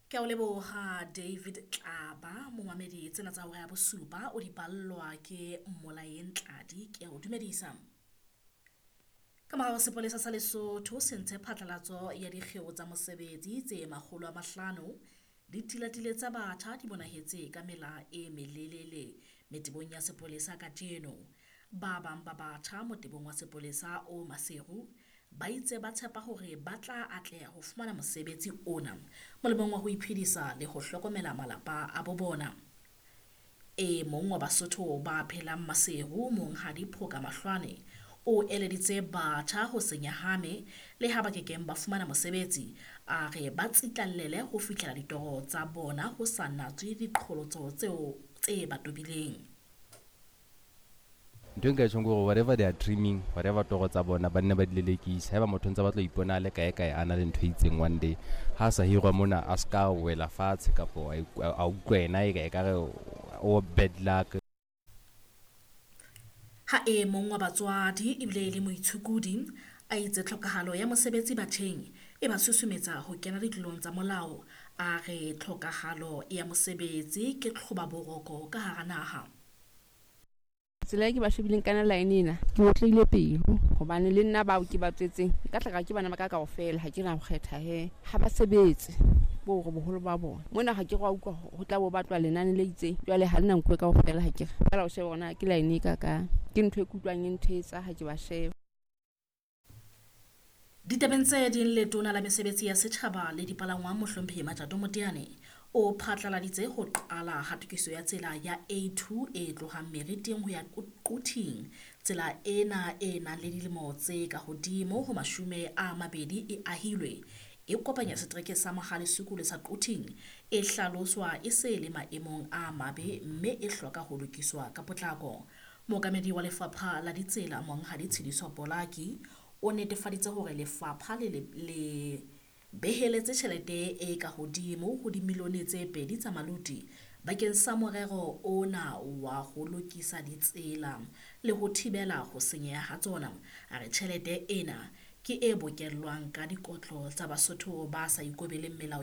Ke a o leboha David Tlaba, momamedi tsena tsa hora ya bosupa o di ballwa ke Molaeng Tladi. Ke a o dumedisa. Ka morao sepolesa sa Lesotho se ntshe phatlalatso ya dikgeo tsa mosebetsi tse 500. Ditilatile tsa batjha di bonahetse ka mela e melelele metebong ya sepolesa kajeno. Ba bang ba batjha motebong wa sepolesa o Maseru ba itse ba tshepa hore ba tla atleha ho fumana mosebetsi ona molemong wa ho iphedisa le ho hlokomela malapa a bo bona. E mong wa Basotho ba phelang Maseru, Monghadi Phoka Mahlwane, o eleditse batjha ho se nyahame le ha ba kekeng ba fumana mosebetsi. A re ba tsitlallele ho fihlela ditoro tsa bona ho sa natswe diqholotso tseo tse ba tobileng. Ntho e nka e tjhong ke hore whatever they are dreaming, whatever toro tsa bona, ba nne ba di lelekise. Haeba motho ntse batla ho ipona a le kae kae, a na le ntho e itseng one day, ha sa hirwa mona, a ska wela fatshe kapo a utlwa yena e ekare o bad luck. Ha e mong wa batswadi ebile e le moitshukudi a itse tlhokahalo ya mosebetsi batjheng e ba susumetsa ho kena ditlolong tsa molao. A re tlhokahalo ya mosebetsi ke tlhobaboroko ka hara naha. Tsela e ke ba shebileng kana line ena, ke otleile pelo hobane le nna bao ke ba tswetseng nka tla ka ke bana ba ka kaofela, ha ke na ho kgetha he. Ha ba sebetse bo hore boholo ba bona mona, ha ke re wa utlwa ho tla bo batlwa lenane le itseng, jwale ha le na nkuwe kaofela. Ha ke re fela o shebe hore na ke line e kakang, ke ntho e ke utlwang e nthetsa ha ke ba sheba. Ditabeng tse ding, letona la mesebetsi ya setjhaba le dipalangwang Mohlomphehi Matjato Moteane o phatlaladitse ho qala ha tokiso ya tsela ya A2 e tlohang Meriting ho ya Quthing. Tsela ena e nang le dilemo tse ka hodimo ho 20 e ahilwe, e kopanya setereke sa Mohale'Sukulu sa Quthing, e hlaloswa e se le maemong a mabe mme e hloka ho lokiswa ka potlako. Mookamedi wa lefapha la ditsela Monghadi Tshidiso Polaki o netefaditse hore lefapha le beheletse tjhelete e ka hodimo ho dimilione tse 2 tsa maluti bakeng sa morero ona wa ho lokisa ditsela le ho thibela ho senyeha ha tsona. A re tjhelete ena ke e bokellwang ka dikotlo tsa Basotho ba sa ikobeleng melao.